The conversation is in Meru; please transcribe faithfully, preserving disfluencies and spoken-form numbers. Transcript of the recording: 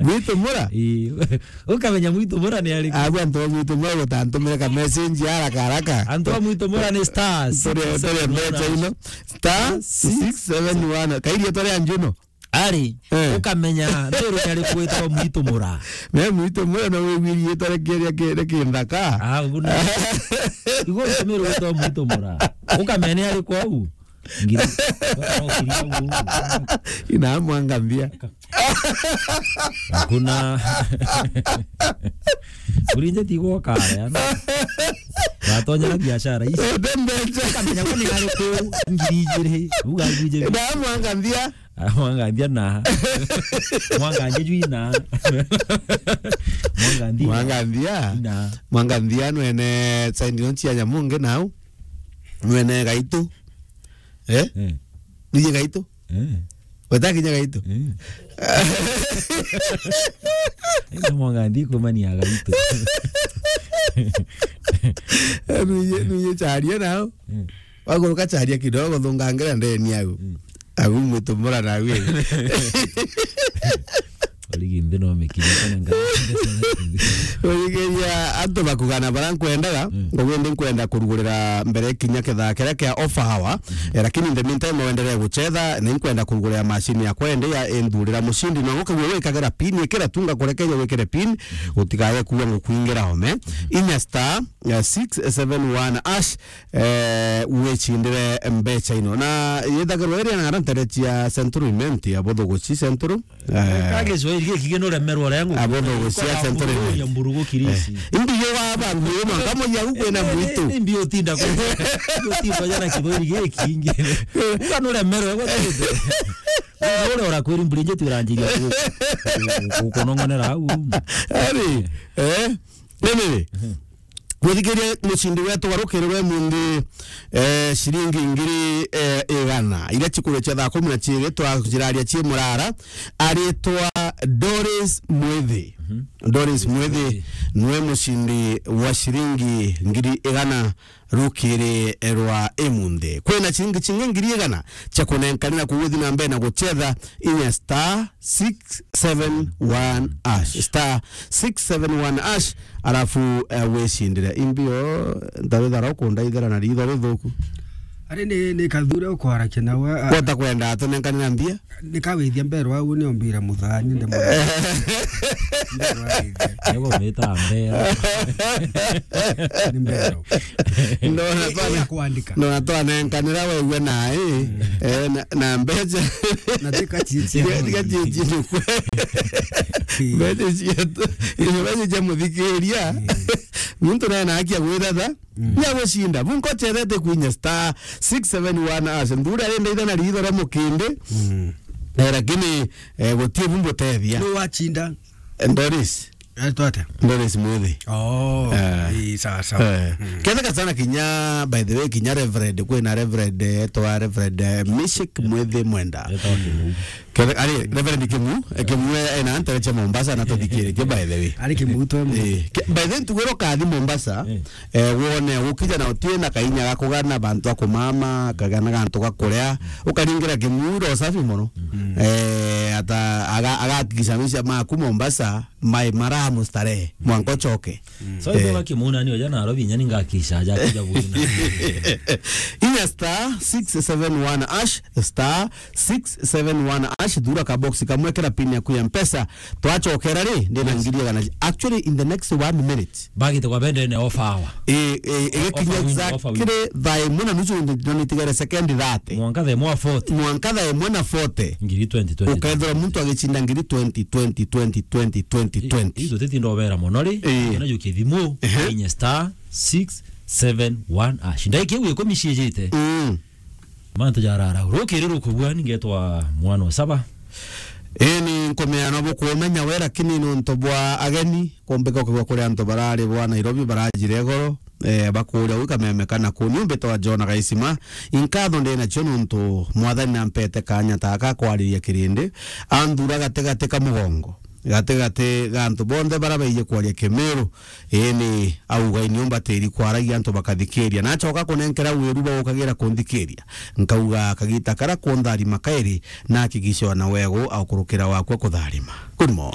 Mwitu Mura? Ii. Ukamenya Mwitu Mura ni ariku? Abu antu ba Mwitu Mura gutantumire ka message haraka haraka. Antu ba Mwitu Mura ni star six seven one hash. Tore, tore mbecha ino. Star six seven one. Kairi tore anjuno. Ari, eh, ukamenya, nderu ni ariku gwitagwa Mwitu Mura. Me Mwitu Mura no wigwiri itore kiria kiri kinthaka. Ah, ugu ni. Igo utumire gwitagwa Mwitu Mura. Ukamenya ni ariku au. Ngiri. Ina mwanga mbia. Hakuna. Urinje ti gwoka, yani. Watonya na biashara ici. Ende mbecha. Ukamenya kwani ariku ngiri igiri. Uga ngiri igiri. Ina mwanga mbia. Ah, mwanganthia na. Mwanganthia juu ina. Mwanganthia. Mwanganthia. Ina. Mwanganthia nwene saindi no cia Nyamunge nau. Nwene Gaitu. Eh? Eh. Nije Gaitu? Eh. Weta kinya Gaitu? Eh. Ina mwanganthia kumania Gaitu. Nije, nije charia nau. Eh. Waguruka charia kidogo, thungangira ndeni au. Mm. Au Mwitu Mura nawe. Origi nthi no mikinya kana nga. Urigeria antu bakugana bara nkwendaga, mm, ngugi ndi nkwenda kurugurira mbere kinya kethaa kiria kia offer hour. Mm. Eh, lakini in the meantime, wendelee guchetha, ni nkwenda kurugurira machine yakwa indi ya indurira mucindi. No ukagua wikagira pin, ikira tu ngakurekeria wikire pin, mm, utigaye kuwa ngukwingira home. Mm. Inya star, eh, six seven one hash, eh, wicindire mbecha ino. Na yethagirwa iri na ntere cia Central Imenti, abuthuguci Central. Eh. Ka Kiswahili giki gino remerwa ria nguku. Abuthuguci cia Central Imenti. Mburugu kirisi. Eh. Indi yo waba nguyo mwanka moja huko na mwitu. Eh, eh, mbi utinda kwa. Utinda jana Kiswahili giki ingi. Uga no remerwa gwa tete. Ule ora kweri mburi nje turanjiria ku-, ku-, ku-, kunongonera au. Ari, eh? Nini? Mhm. Gwithikiria mucindi wetu warukirirwe munthi, eh, ciringi ngiri, eh, igana. Iria cikurikia thaa kumi na ciiri, twajiraria cii murara. Aritwa Doris Mwithi. Mhm. Doris Mwithi. Mwithi niwe mucindi wa ciringi ngiri igana rukiri rwa imunthi. Kwina ciringi cingi ngiri igana cia kunenkanira kuguthi na mbere na guchetha inya star six seven one hash. Star six seven one hash, alafu, eh, wicindire. Imbio, ndarithara ukundaithira na ritho rithuku. Ari ni, ni kathure ukwarakia nawe, a- Wota kwenda atunenkanira mbia? Nikawithia mbero au ni ombira muthani nde mwana. Mbero awithia. Ego mita mbero. Ni mbero. Ndona twana, ya kuandika. Ndona twanenkanira wewe nae, mm, eh, na, na mbecha. Na tika chichi. Tika, tika chichi ni kwe. Mm. Mbecha cietu. Izo mbecha cia muthikiria. Mm. Muntu nae na haki ya gwithatha. Mm. Ni agucinda. Bunko chethete kwinya star six seven one hash. Nthuri arenda itha na ritho ria mukindi. Mm. Eh, lakini, eh, gutie bumbutethia. Ni wachinda. Eh, Doris. Aitwa atia? Doris Mwithi. Oh, eh, ii, sawa, sawa. Eh. Mm. Ketheka sana kinya, by the way, kinya Reverend, kwina Reverend, etwa Reverend, eh, Mishik Mwithi Mwenda. Etwa Kimu. Kethe-, ari, Reverend Kimu, eh, Kimu e-, ena ntere cia Mombasa na tuthikiritie, by the way. Ari Kimu twe mu- Eh, ke-, by the way, ntugwira ukathi Mombasa, eh, eh, wone ukija na utie na kainya ga kugana bantu a kumama, kagana gantu ga kuria, ukaringira Kimu ro safi mono. Mm. Eh, ata aga-, agahakikisha maisha maku Mombasa, mai mara mustarehe, mwanka ucoke. Mm. So, eh, ithuga Kimu nani oja Nairobi, inya ni ngakisha aja kuja bwina. Inya star six seven one hash, star six seven one hash, thura ka box kamwe, kira pin yaku ya Mpesa, twacokera ri, ndina, yes, ngiri igana. Actually, in the next one minute. Bagite kwa bende ne offer hour. Eh, eh, eh, offer window, exactly offer window. Thaa imwe na nusu ndo nitigere second thirty. Mwanka thaa imwe forty. Mwanka thaa imwe na forty. Ngiri twenty, twenty, ukethira muntu agicinda ngiri twenty, twenty, twenty, twenty, twenty, twenty. Ii, ii, tutitinda obera mono ri. Ii. Kana jukie thimu, ehe, inye star six seven one hash. Ndaiki iu ikumi ciijite. Mm. Mantu jarara. Rukiri rukugua, ningetwa mwana wa saba. Ii, ni nkumea no bukumenya we, lakini nontu bwa ageni, kumbika ukigwa kuri antu barari bwa Nairobi barajire igoro, eh, bakuria ui kameme kana kuni. Umbitwa John Gaisima, inkatho ndi nacio nontu Mwathani nampete kanya taka kwariria kirindi, anthura gatigati ka mugongo, gatigati ga antu bonthe bara baiji kwaria Kimiru. Ii, ni auga, ini umbatiri kwaragia antu bakathikiria. Nacoka kunenkera wiru bwa gukagira kunthikiria. Nkauga, kagita kara kuntharima kairi, na hakikisha wana wegu aukurukira wakwa kutharima. Good morning.